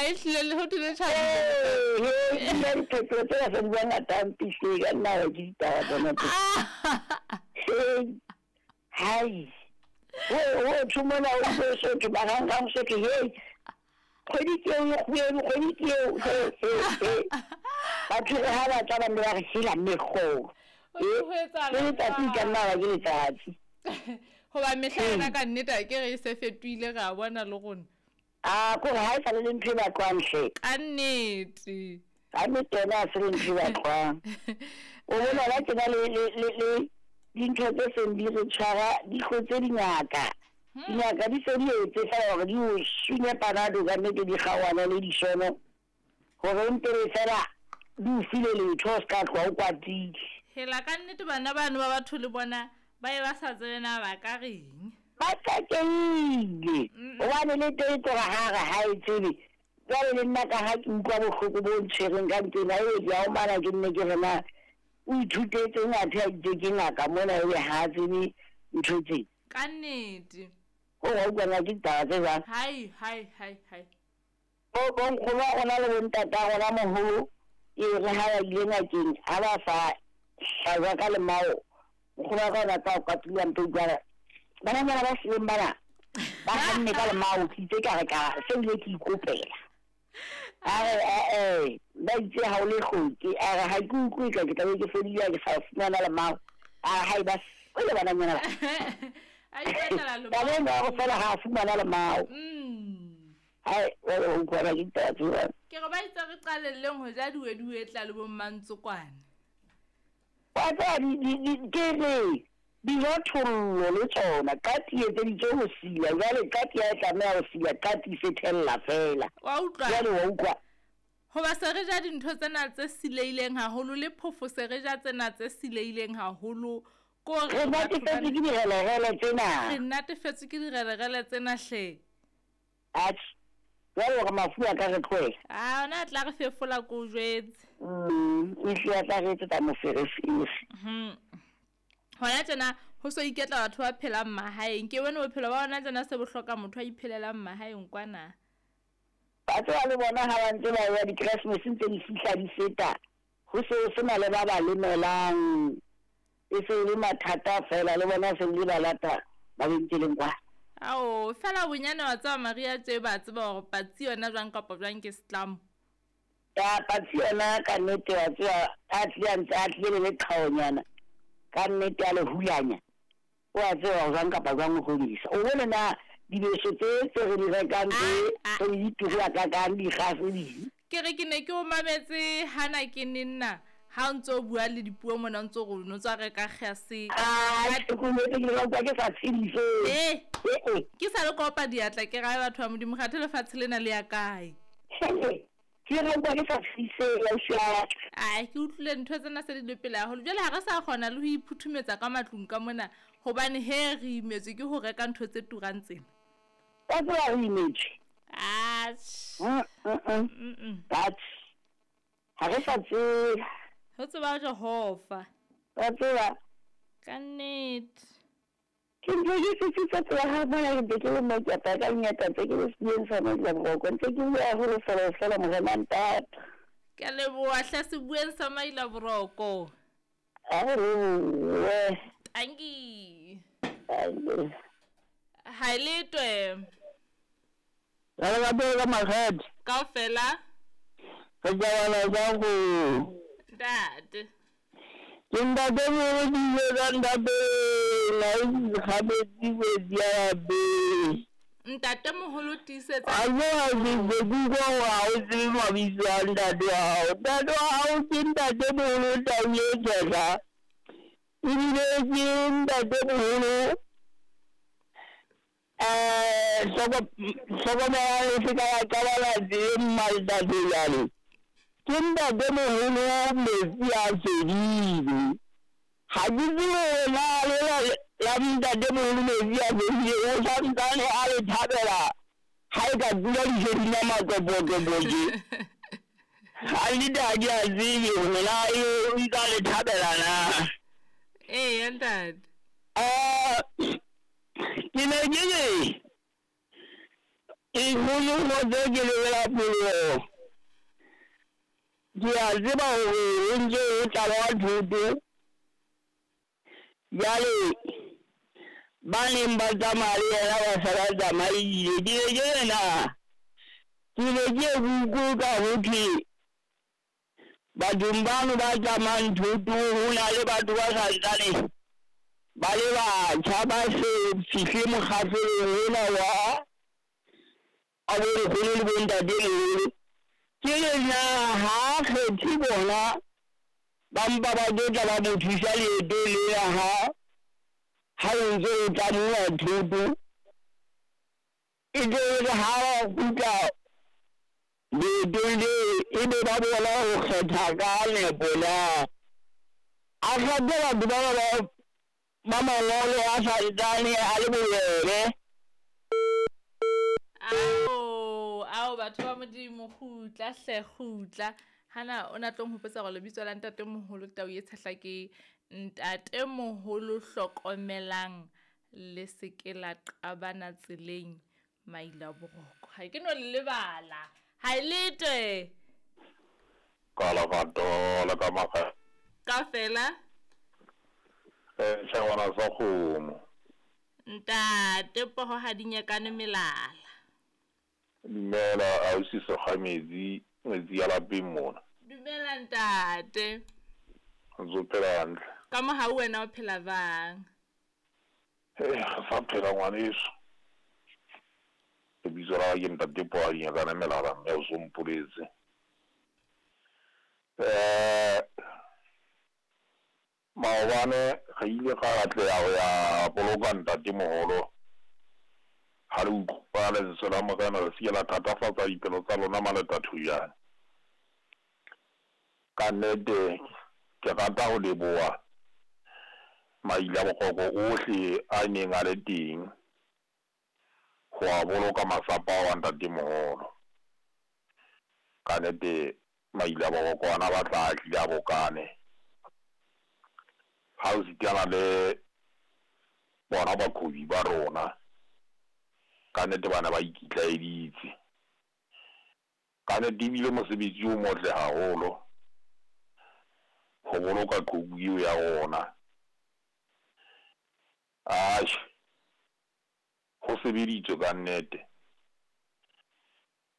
A ehlile le ho thwe le tjhabile. Ee, he, nna diphetoho tse basadi ba ngata mpihle ka nna ke ditaba tsona tse. Hei, hai. Ho thwe mona ho so so thwe marangrang so thwe hei. Kgwedi ke eo e kgubedu, kgwedi ke eo. He, he, he. Batho re ha ba tla ba nne ba re hela mekgolo. Ho thwe ho etsahala Le letsatsi e ka nna ba ke letsatsi. Hoba mehla yona ka nnete a ke re e se fetohile re a bona le rona. A kore ha e sa le le ntho e batlwang hle. Ka nnete. Ka nnete yona ha se le ntho e batlwang. O bona ba tjena le le le le dintho tse seng di re tshwara di hlotse dingaka. Dingaka di se di etse fela hore di o sunye panado ka nnete di kgaohane le disono hore mpe be fela di o file letho o ska tloha o kwatile. Hela ka nnete bana bano ba batho le bona ba ye ba sa tsebe na ba ka reng. Ba tsakehile hobane le teng tloga ha re ha e tsebe. Jwale le nna ka ha ke utlwa bohloko bo ntshwereng ka ntsena ebe ke a omana ke nne ke re na o ithutetseng athe a itse ke ngaka mona ebe ha a tsebe ntho tse. Ka nnete. O wa utlwa na ke ditaba tse jwang? Hai hai hai hai. Bo bonkgono ba rona le bontata rona moholo e re ha ba ile ngakeng ha ba sa hlajwa ka lemao nkgono wa ka o na tla o kwatula mpe utlwa bananyana ba sileng bana ba hanne ka lemao ke itse ka re ka se bile ke ikopela a re ee ba itse ha o le hloke a re ha ke utlwe ka ke tlabe ke fodile ha ke sa fumana lemao a re ha e ba sele bananyana ba A ipatlela lemao. Taba eno ya go fela ga a fumana lemao. Hai, jwale ho utlwana ke ditaba tse jwalo. Ke re ba itse re qalelleng ho ja diweduwetla le bo mmantsokwane. Wa tseba ke re dijothollo le tsona qati e etseditswe ho sila, jwale qati ha e tlameha ho sila qati e se thella feela. Wa utlwa? Jwale wa utlwa? Hoba se re ja dintho tsena tse sileileng haholo le phofo se re ja tsena tse sileileng haholo ko Re re batho natefetswe bana ke direlerele tsena. Re natefetswe ke direlerele tsena hle. Atjhe, jwale hore mafu a ka re tlohela. A ona a tla re fefola ko o jwetse. Ehlile a tla re etsetsa moferefere. Hona tjena ho so iketla batho ba phelang mahaeng. Ke bone bophelo ba hona tjena se bo hloka motho a iphelelang mahaeng kwana. Ba tseba le bona ha ba ntse ba ya di-Christmas ntse di fihla di feta, ho se ho sena le ba ba lemelang. E se e le mathata fela le bona se le ba lata mabenkeleng kwa. Ao, fela bonyane wa tseba Maria tje ba tseba hore patsi yona jwang kapa jwang ke setlamo. Ya patsi yona ka nnete wa tseba a tlile a ntse a tlile le leqhaonyana ka nnete a le hulanya. O a tseba hore jwang kapa jwang o tlo di isa. O bone na dibeso tse tse re di rekang tse tse di turu hakakang dikgase ding. Ke re ke ne ke o mametse hana ke ne nna ha o ntso bua le dipuo mona o ntso re o no tswa reka kgase. Ah, ke utlwetse ke utlwa ke sa tshedise. Eh. Eh. Ke sa le kopa diatla ke rae batho ba Modimo kgathe lefatshe lena le ya kae. Ke re utlwa ke sa tshedise ausi wa ka. Ai, ke utlwile ntho tsena se di le pele haholo. Jwale ha re sa kgona le ho iphuthumetsa ka matlung ka mona hobane he re imetswe ke ho reka ntho tse turang tsena. Wa tseba re imetswe. Atjhe. Atjhe. Ha re sa tseba. Ho tseba Jehova. Wa tseba. Ka nnete. Ke ntse ke sisitse tsela ha bona ke ntse ke le mo ke apara ka dinyata tse ke le sebeng sa Maila Boroko. Ntse ke bua haholo fela fela morena ntata. Ke a leboha hle sebueng sa Maila Boroko. A re lebohe. Tanki. Tanki. Ha e letwe. Re le batho ka makgethe. Kaofela. Re tjabala jwang go. Ntate. Ke ntate moholo ke ile ka ntate la kgabetsi kgwedi ya lapeng. Ntate moholo tiisetsa. A tseba ke ke utlwa hore ha o tsebe mabitso a ntate wa hao. Ntate wa hao ke ntate moholo Tau e Tshehla. Ebile ke ntate moholo hlokomelang le se ka la qabana tseleng mmaltate jwale. Ke ntate moholo metsi a fedile. Ha ke tsebe hore na lela la ntate moholo metsi a fedile o santsane a le thabela ha e ka pula dijo di na matlopotopo tje. Ha nnete ha ke a tsebe hore na eo o ntsa le thabela na. Eya ntate. Ke ne ke re Nkgono kgotso ke lebela pholoho. Ke a tseba hore ho ntse ho tlala thoto. Jwale ba neng ba tsamaya le yena ba se ba tsamaile. Ke ne ke re na ke ne ke ye ke utlwe ka ho thwe bathong bano ba tsamayang thoto ho na le batho ba santsane ba le batjha ba se fihle mokgahlelong ona wa a bonkgono le bontatemoholo. Ke re na ha a kgethe bona ba mpa ba tlo tla ba mo thusa leetong lena ha ha o ntse o tlamuwa thoto e tlo re ha ba kgutla leetong leo e be ba bona ho kgetha ka nepo na. A kgethe batho bana ba ba mangolo a santsane a le bobebe. Ao, ao batho ba Modimo, kgutla hle, kgutla. Hana o na tlo nhopotsa gore lebitso la ntatemoholo Tau ye Tshehla ke Ntatemoholo Hlokomelang le se ke la qabana tseleng maila boroko. Ga ke no le lebala. Ga e lete. Ka lerato le ka makgakga. Ka fela. Sehwana sa kgomo. Ntate poho ga di nyakane melala. Dumela ausi Sekgametsi, ngwetsi ya lapeng mona. Dumela ntate. Ntse o phela hantle? Ka mohau wena o phela jwang? Hei, re sa phela ngwaneso. Lebitso la ka ke Ntate Poho ga di nyakane melala mme o so mpoletse. Eh Maobane re ile ra atleha ho ya boloka ntatemoholo. Ha le utlwa lentswe la Morena, le se ke la thatafatsa dipelo tsa lona maletathujane. Ka nnete ke rata ho leboha maila-bokoko ohle a neng a le teng ho a boloka masapo ao a ntatemoholo. Ka nnete maila-boroko ana a batla a hlile a bokane. Ha o sitana le bona baqhobi ba rona, ka nnete ba ne ba ikitlaeditse. Ka nnete ebile mosebetsi o motle haholo ho boloka qhoku eo ya rona. Atjhe, ho sebeditswe ka nnete.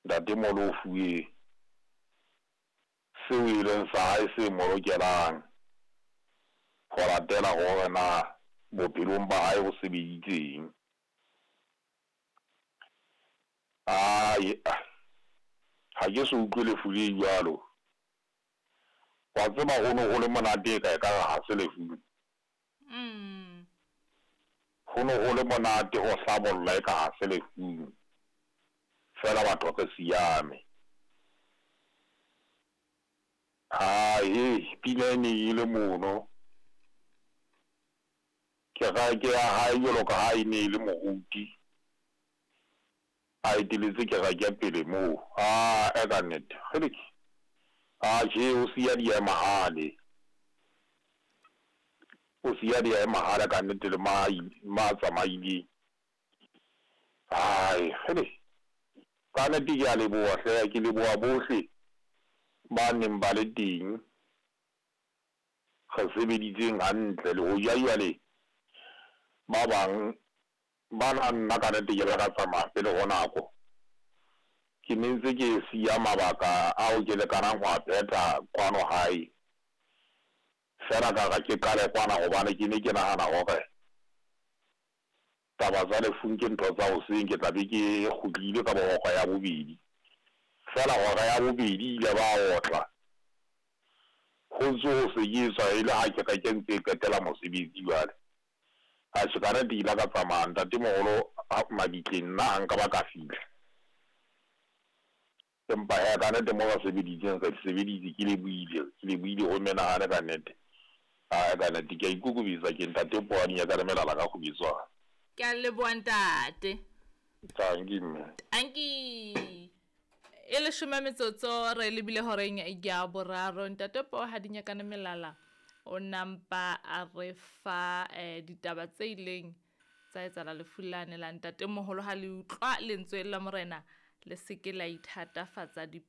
Ntatemoholo o fuwe seo e leng sa hae se mo lokelang ho latela hore na bophelong ba hae o sebeditseng. Ae, ha ke so utlwe lefu le jwalo. Wa tseba ho ne ho le monate eka ekare ha se lefu. Ho ne ho le monate ho hlabolla eka ha se lefung. Feela batho re siame. Ae, pina e ne e le mono. Kereke ya hae jwalo ka ha e ne e le moruti, a eteletse kereke pele moo. Ae, ka nnete. Kgeleke. Atjhe, o siya diemahale. O siya diemahale ka nnete le ma ma tsamaileng. Ae, kgele. Ka nnete ke a leboha hle, ke leboha bohle ba neng ba le teng. Re sebeditseng hantle le hoja jwale ba bang ba na nna ka nnete ke la ka tsamaya pele ho nako. Ke ne ntse ke siya mabaka ao ke lekanang ho a phetha kwano hae. Feela ka re ke qale kwana hobane ke ne ke nahana hore taba tsa lefung ke ntho tsa hoseng, ke tla be ke kgutlile ka bo hora ya bobedi. Feela hora ya bobedi ile ba otla. Ho ntse ho sebetswa e le ha kereke ntse e qetela mosebetsi jwale. Atjhe ka nnete ke ile ka tsamaya ntatemoholo mabitleng nna ha nka ba ka fihla. Empa hee ka nnete mo ba sebeditseng re sebeditse ke lebohile, ke lebohile ho menahane ka nnete. Ae ka nnete ke a ikokobetsa ke ntate Poane ya ka le melala ka kgobetswana. Ke a leboha ntate. Tanki mme. Tanki. E leshome metsotso re lebile horeng ya boraro. Ntate Poo ha di nyakane melala o nampa a re fa ditaba tse ileng Tsa etsahala lefu lane la ntatemoholo ha le utlwa lentswe la Morena, le se ke la ithatafatsa dipelo.